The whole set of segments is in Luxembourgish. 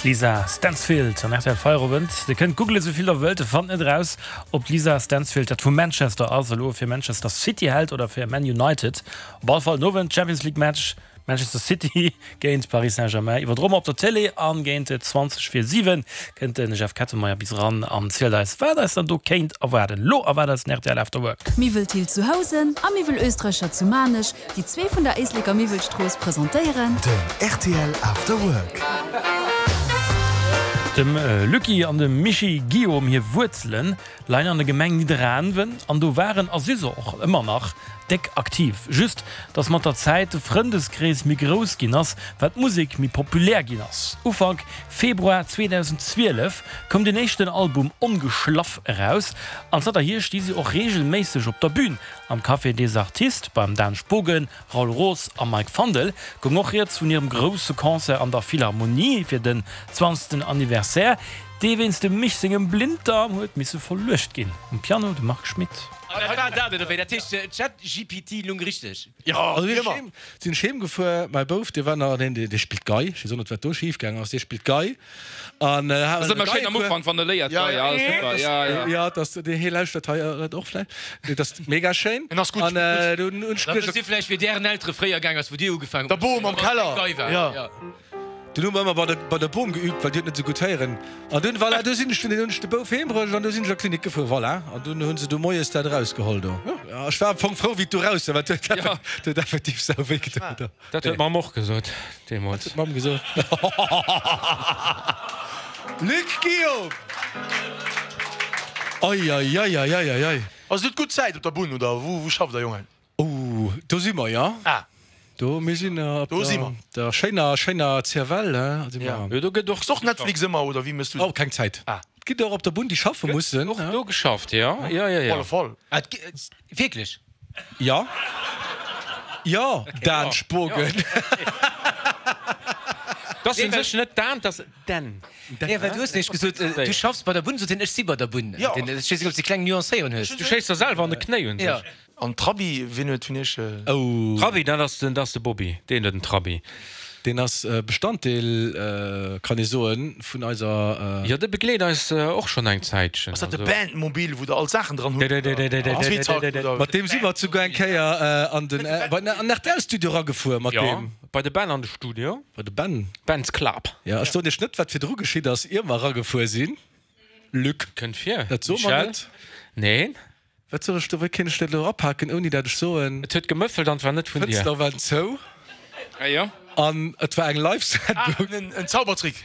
D'Lisa Stansfield am rtl Feierowend. Dir kënnt googlen esou vill der wëllt, fannt net eraus ob d'Lisa Stansfield dat vu Manchester ass, elo fir Manchester City hält oder fir Man United. Op alle Fall den Owend Champions League Match Manchester City géint Paris Saint-Germain iwwerdroe mer op der Télé an géint 20 vir 7 kënnt de Jeff Kettenmeyer bis eran an zielt eis wat eis dann do kéint erwaarden. Lo erwaart eis den rtl After Work. Miwwel Thill zu Housen a Miwwel Oesträcher zu Maarnech, déi zwee vun der Éisleker Miwwelstrooss presentéieren. Den rtl After Work. Dem Lucky an dem Mischii Guillaume hir Wuerzelen leien an der Gemeng Nidderaanwen an do waren a si se och ëmmer nach déck aktiv. Just dass mat der Zäit de Frëndeskrees méi grouss ginn ass, well d'Musek méi populär ginn ass. Ufank Februar 2012 koum den éischten Album Ongeschlaff eraus an zanterhier sti si och reegelméisseg op der Bün. Am Café des Artistes beim Dan Spogen, Raoul Roos a Mike Fandel goung och rieds vun hirem grousse Concert an der Philharmonie fir den zwanzegsten Anniversaire. Dee wéinst dem Mich sengem Blinddarm huet misse verluecht ginn. Um Piano de Marc Schmitt. An dat war dat, oder wéi? Dat heescht, ChatGPT lung richteg? Jo, wéi ëmmer. Sinn ech heem gefuer, mäi Bouf, dee war nach, deen, dee spillt Gei, ech weess och net, wat do schif gaang ass, dee spillt Gei an hat Ass ëmmer schéin am Ufank, wann e léiert Gei, ja, ass super, ja, ja. Jo, dass dee, hie lauschtert hei dat och vläicht, dat ass mega schéin. En ass gutt, An spillt gutt. dunn hunn ech Da wësst Dir vläicht, wéi Ären Eltere fréier gaang ass, wou Dir ugefaangen Der Bom am Keller, Gei war, jo. jo. Dunn hu mer ëmmer bei der, bei der Bom geübt, well déi huet net esou gutt héieren. An dunn, voilà, du sinn ech dunn, hunn ech de Bouf heem bruecht an du sinn ech an d'Klinik gefuer, voilà. An dunn hu se du moies dat erausgeholl do. Jo, ech war am Fong frou, wéi et du raus war, well et huet, et huet effektiv sau wéi gedoen do. Dat huet d'Mamm och gesot deemools. Dat huet d'Mamm gesot. Luc Guillaume! Ei, ei, ei, ei, ei, ei, ei. Ass et gutt Zäit op der Bunn oder wou, wou schafft der, Jongen? Oh, do si mer, jo. Ah. Do, mir sinn op Do si mer. der schéiner, schéiner CFL, he, si mer. Jo, do gëtt och. Kucks och Netflix ëmmer, oder wéi méchs du? Oh, keng Zäit. Ah. Et ginn der och op der Bunn, déi schaffe mussen. Gëtt och do geschafft, jo, jo, jo, jo. Op alle Fall. Ah, et gi, wierklech? Jo. Jo, Dan Spogen. T'ass u sech net Dan, t'ass Den. Nee, well du hues nämlech gesot, du schaffs bei der Bunn, sot hien, ech si bei der Bunn. Jo. Ech weess net, ob s de kleng Nuancéierung hues. Du schéiss der selwer an de Knéi un sech. An Trabi, wien huet vun iech. Oh. Trabi, dat ass den, dat ass de Bobby, deen huet en Trabi. Deen ass Bestanddeel, kann ee soen, vun eiser. Jo, dee begleet eis och schonn eng Zäitchen. Ass dat de Bandmobil, wou der all d'Saachen dran hutt? Oder? Mat deem si mer souguer eng Kéier an den, bei den RTL-Studio eragefuer mat deem. Jo, bei de Ben an de Studio. Bei de Ben. Ben's Club. Jo, ech soen iech net, wat virdru geschitt ass, ier mer eragefuer sinn, Luc. Kënnt vir, Dat soe mer Michel. net. Neen. Wat soll ech do, wéi kéint ech dat elo erapaken, ouni dat ech soen. Et huet gemëffelt an et war net vun dir. D'Fënster waren zou. Ah jo. An et war eng Live-Sendung. Ah, en Zaubertrick.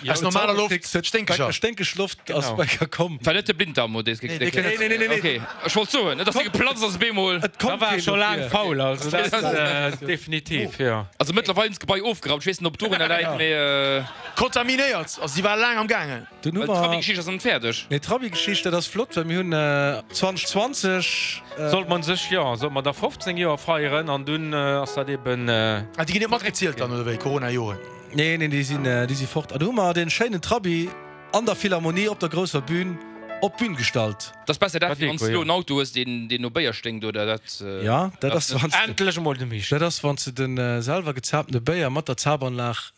Aus normaler Loft sténkeger. Sténkeg Loft ass bei der komm. War net de Blinddarm, oder? Nee, nee, nee, nee. Okay, ech wollt soen, net dass dee geplatzt ass op eemol. Et konnt Da war keen scho laang dofir. faul, also dat definitiv, jo. Also mëttlerweil hunn se d'Gebai ofgeraumt, ech weess net, ob et dorunner läit, mee. Kontaminéiert, also déi war laang am gaangen. Dunn hu Well mer. d'Trabi-Geschicht ass nach net fäerdeg. Nee, d'Trabi-Geschicht, dat ass flott, well mir hunn 2020. Sollt man sech, jo, sollt mer da 15 Joer feieren an dunn ass dat eben. Ah, déi ginn net matgezielt dann, oder wéi, Corona-Joren? Nee, nee, déi sinn, déi si fort. An du hu mer dee schéinen Trabi an der Philharmonie op der grousser Bühn op d'Bühn gestallt. Dat ass besser dat, Dat wéi wann s Deko, du elo jo. en Auto hues, deen, deen no Béier sténkt, oder dat. Ja, dat ass, wann s de. Endlech emol de Misch. Dat ass, wann s de de selwer gezaaptene Béier mat der Zaapanlag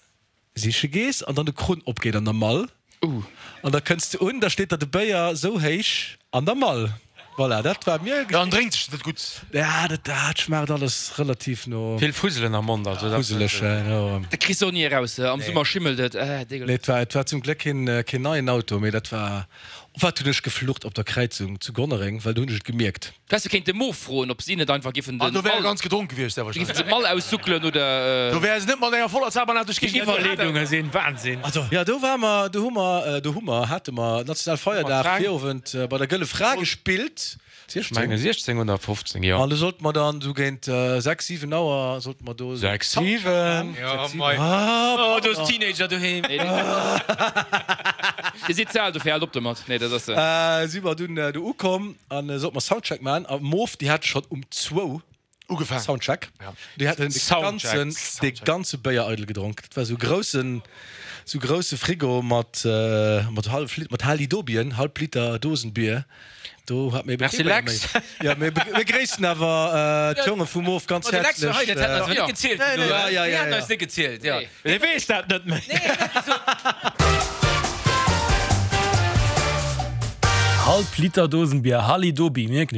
siche gees an dann de Krunn opgeet an der Mall an da kënns de un, da steet der de Béier sou héich an der Mall. Voilà, dat war mir. Dann drénkt sech dat gutt. Ja, dat dat schmaacht alles relativ no. Vill Fuselen am Mond, also dat. Fuseleg, jo. Dat kriss de och ni eraus, am Summer schimmelt et, äh, Nee, et war, et war zum Gléck keen, keen neien Auto, mee dat war, wat hunn ech geflucht op der Kräizung zu Gonnereng, well do hunn ech et gemierkt. Du häss jo kéinte Moof froen, ob si net einfach giffen Ah, den do wär Mall, ganz gedronk gewiescht, sehr giffen wahrscheinlech. se d'Mall aussuckelen oder. Do wär se net mat enger voller Zabernaht duerch Déi d'Géigend. Iwwerleedunge sinn Wahnsinn. Also, jo, do ware mer, do hu mer, do hu mer, hate mer Nationalfeierdag, Virowend bei der Gëlle Fra gespillt. Ech menge 16 oder 15, jo. An do sollte mer dann esou géint 6, 7 Auer sollte mer do. 6, 7? Jo, mei. Oh, do ass Teenager doheem. Dir sidd ze al dofir, haalt op domat. Nee, dat ass. Si mer dunn do ukomm an sollte mer Soundcheck maachen. A Moof, déi hate schonn um zwou Ugefaangen. Soundcheck. Déi haten de ganzen, de ganze Béier eidel gedronk. Dat war esou groussen, esou grousse Frigo mat, mat hallef Lit, mat Halidobien, halb Liter Dosenbier. Do hat mir eben Merci kee Béier Lex. méi. Jo, mir begréissen awer d'Jonge vu Moof ganz Ma de Lex war hei, häerzlech. dat hätt eis awer net gezielt. Ja, ja, Déi ja, hätten ja. eis net gezielt, jo. Dee weess dat net méi. Nee, dat. Halb Liter Dosenbier, Hallidobi, mierken.